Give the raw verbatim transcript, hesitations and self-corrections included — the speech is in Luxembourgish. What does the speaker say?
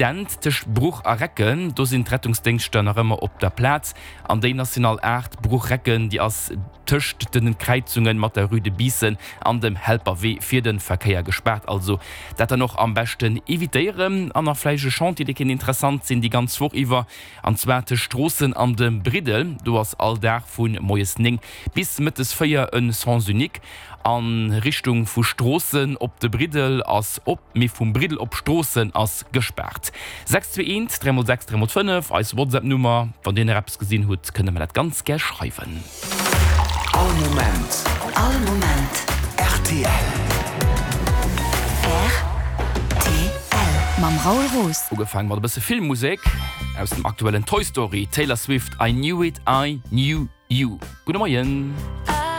Accident tëscht Bruch a Recken, do sinn d'Rettungsdéngschter nach ëmmer op der Plaz. An déi National aacht Bruch-Recken, déi ass tëscht den Kräizunge mat der Rue de Biissen an dem Helperwee fir de Verkéier gespaart. Also dat dann och am beschten evitéieren. An nach vläicht e Chantier, dee kéint interessant sinn déi ganz Woch iwwer, an zwar tëscht Stroossen an dem Briddel. Do ass all Dag vu moies néng bis mëttes véier en Sens unique. A Richtung vu Stroossen op de Briddel ass op, mee vum Briddel op Stroossen ass gespaart. Sechs zwee eent, dräi mol sechs, dräi mol fënnef, eis WhatsApp-Nummer. Wann Dir nach eppes gesinn hutt, kënnt Der mer dat ganz gär schreiwen. All Moment. All Moment. Rtl. Rtl. Mam Raoul Roos. Ugefaangen mat e bësse Filmmusek aus dem aktuellen Toy Story, Taylor Swift, I Knew It, I Knew You. Gudde Moien.